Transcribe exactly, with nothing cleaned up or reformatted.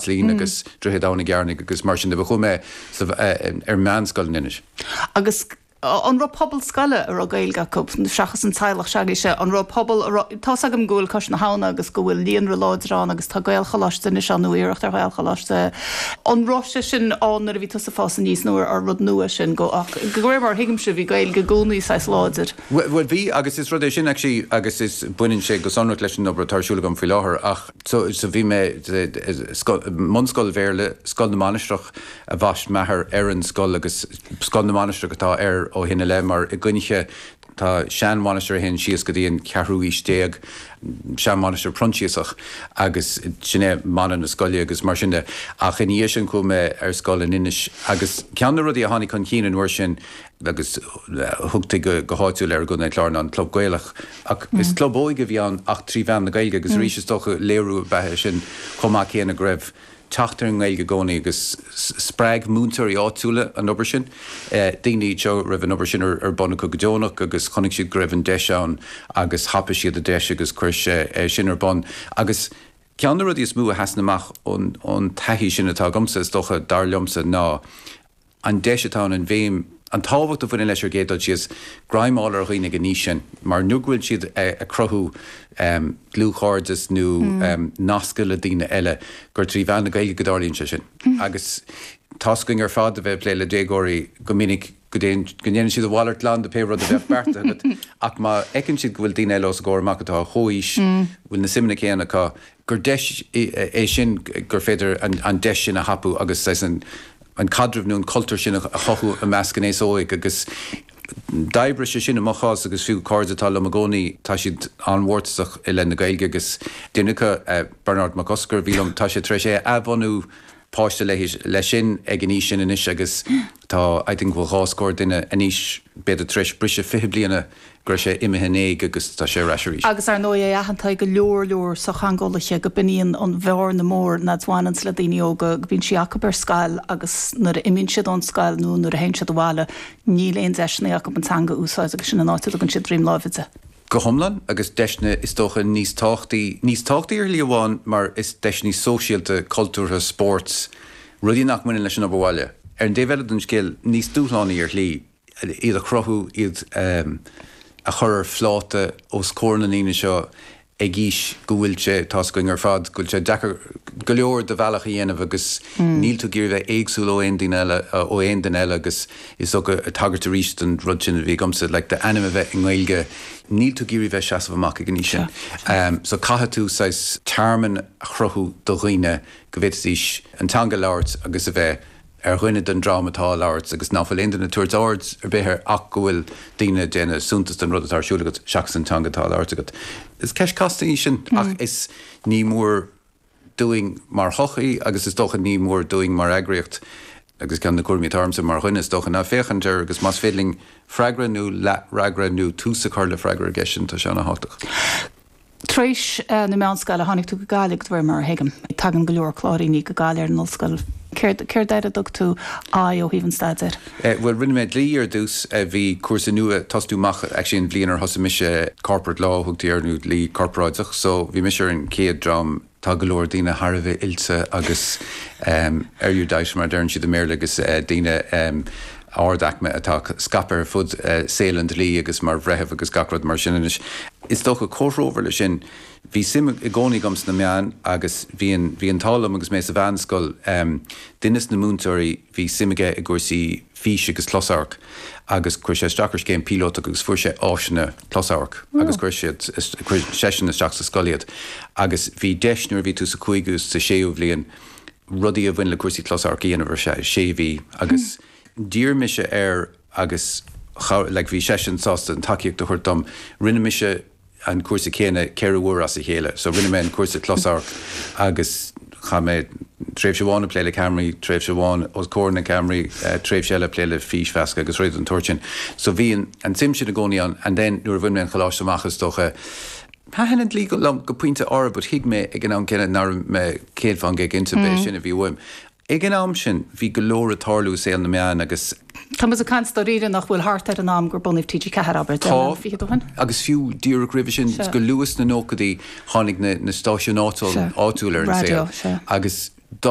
Lín agus Droichead Abhann i gCearnaigh agus mar sin de. Chuaigh mé ar meánscoil in Inis. Agus an raibh pobal scoile a raibh Gaeilge acu seachas an teaghlach s'agaibhse, an raibh pobal? Tá agam go bhfuil Cois na hAbhna agus go bhfuil líonra láidir ann agus tá Gaelcholáiste anois ann nó iarracht ar Ghaelcholáiste. An raibh sé sin ann nuair a bhí tusa ag fás aníos nó ar rud nua sin go ach go réir mar thuigimse bhí Gaeilge i gcónaí saghas láidir? Well, bhí, agus is rud é sin actually agus is baineann sé go sonrach leis an obair atá ar siúl agam faoi láthair, ach so, so bhí mé bunscoil Bhéarla, Scoil na Mainistreach a bhaist m'athair ar an scoil agus Scoil na Mainistreach atá air ó shin i leith, mar i gCoinnche tá seanmhainistir a théann síos go dtí an ceathrú aois déag, seanmhainistir Proinsiasach, agus sin é mana na scoile agus mar sin de. Ach ina dhiaidh sin chuaigh mé ar scoil in Inis agus ceann de na rudaí a tháinig chun cinn an uair sin agus thugtaí go, go háitiúil ar i gContae an Chláir ná an Club Gaelach. Ach is club óige a bhí ann ach trí mheán na Gaeilge agus arís is dócha léiriú ab ea é sin chomh maith céanna go raibh teacht ar an nGaeilge i gcónaí agus spreag múinteoirí áitiúla an obair sin. Daoine iad seo a raibh an obair sin ar bun acu go deonach agus chonaic siad go raibh an deis ann agus thapaigh siad an deis agus chuir sé sin ar bun. Agus ceann de na rudaí is mó a sheasann amach ón taithí sin atá agamsa, is dócha, dar liomsa, ná an deis atá ann an bhéim, an tábhacht a bhaineann leis ar an gcéad dul síos, greim a fháil ar dhaoine ag an aois sin, mar nuair go bhfuil siad ag cruthú dlúthchairdeas nó nascadh le daoine eile, gur trí mheán na Gaeilge go dtarlaíonn sé sin. Agus tá's againn ar fad a bheith ag plé le déagóirí go minic go ndéanann siad a mhalairt glan de pé rud a bheadh beartaithe agat, ach má fheiceann siad go bhfuil daoine eile os a gcomhair amach atá a chomhaois, bhfuil na suimeanna céanna acu, gur deis é sin gur féidir an deis sin a thapú agus saghas an an caidreamh nó an cultúr sin a chothú i measc an aos óig. Agus d'oibrigh sé sin i mo chás agus fiú cairde atá liom i gcónaí, tá siad an-mhórtasach i leith na Gaeilge agus duine acu, Bernard Mac Oscair, a bhí liom, tá sé tar éis é a athbhunú páiste leis sin ag an aois sin anois agus tá, I think, go bhfuil dhá scór duine anois, b'fhéidir tar éis briseadh fiche bliana go raibh sé imithe in éag agus tá sé ar ais arís. Agus ar ndóigh é aitheanta ag go leor leor sochtheangeolaithe go b'in an bhearna mór ná bhaineanns le daoine óga, go mbíonn sí acu ar scoil agus nuair a imíonn siad ón scoil nó nuair a théann siad abhaile níl aon deiseanna acu an teanga a úsáid agus sin an áit a dtugann siad droim láimhe di. Go hiomlán, agus deiseanna is dócha níos tábhachtaí, níos tábhachtaí ar shlí amháin mar is deiseanna sóisialta, cultúrtha, spóirt, rudaí nach mbaineann leis an obair bhaile. Ar an dtaobh eile den scéal, níos dúshlánaí ar shlí, iad a chruthú, iad a chur ar phláta os comhair na ndaoine seo ag aois go bhfuil sé, tá's againn ar fad, go bhfuil sé deacair go leor do bhealach a dhéanamh agus níl tú ag iarraidh bheith éagsúil ó aon duine eile, ó aon duine eile agus is dócha, tagairt arís don rud sin a bhí agamsa, like d'ainm a bheith i nGaeilge, níl tú ag iarraidh bheith seasamh amach ag an aois sin. So caithfidh tú saghas tearmann a chruthú do dhaoine go bhféadfaidís an teanga a labhairt agus a bheith ar dhuine den dream atá á labhairt agus ná fuil aon duine ag tabhairt aird ar bith air ach go bhfuil daoine ag déanamh suntas den rud atá ar siúl agat seachas an teanga atá á labhairt agat. Is ceist casta í sin ach is ní mór dúinn mar shochaí agus is dócha ní mór dúinn mar eagraíocht, agus ceann de na cúraimí atá ormsa mar dhuine is dócha, ná féachaint air agus más féidir linn freagra nó leathfhreagra nó tús a chur le freagra ar an gceist sin, tá sé an-thábhachtach. Tar éis na meánscoile tháinig tú go Gaillimh, de réir mar a thuigim. Tagann go leor Cláiríní go Gaillimh ar an ollscoil. Céard, céard air a dtug tú aghaidh ó thaobh an staidéir? Bhuel, rinne mé dlí ar dtús. Bhí cúrsa nua ag tosnú amach actually an bhliain ar thosaigh mise, corporate law a thugtaí air nó dlí corparáideach. So bhí mise ar an chéad dream. Tá go leor daoine thar a bheith oilte agus erudite mar a deireann siad i mBéarla agus daoine ard-aicme atá scaipthe ar fud saol an dlí agus mar bhreitheamh agus gach rud mar sin anois. Is dócha comhthreomhar leis sin, bhí suim i gcónaí agam sna meáin agus bhí an bhí an t-ádh liom agus mé sa mheánscoil, duine de na múinteoirí, bhí suim aige i gcúrsaí físe agus closamhairc agus chuir sé isteach ar scéim píolótach agus fuair sé áiseanna closamhairc agus chuir siad, chuir seisean isteach sa scoil iad agus bhí deis nuair a bhí tú sa chúigiú, sa séú bhliain rudaí a bhain le cúrsaí closamhairc a dhéanamh ar feadh sé mhí agus d'iarr mise air agus like bhí seisean sásta an tacaíocht a thabhairt dom. Rinne mise an cúrsa céanna ceithre huaire as a chéile. So rinne mé an cúrsa closamhairc agus chaith mé tréimhse amháin ag plé le ceamaraí, tréimhse amháin os comhair na gceamaraí, tréimhse eile ag plé le físmheascadh agus rudaí den tsórt sin. So bhí an an tsuim sin i gcónaí ann and then nuair a bhain mé an choláiste amach is dócha, thaitin an dlí liom go pointe áirithe but thuig mé ag an am céanna nach raibh mé céad fán gcéad cinnte b'é sin a bhí uaim. Ag an am sin, bhí go leor ag tarlú i saol na meán agus. Tá muid ag caint dáiríre nach bhfuil thart ar an am gur bunaíodh T G Ceathair, abair, deich mbliana fichead ó shin? Tá, agus fiú díreach roimhe sin, go luath sna nóchaidí, tháinig na stáisiúin áitiúil ar an saol agus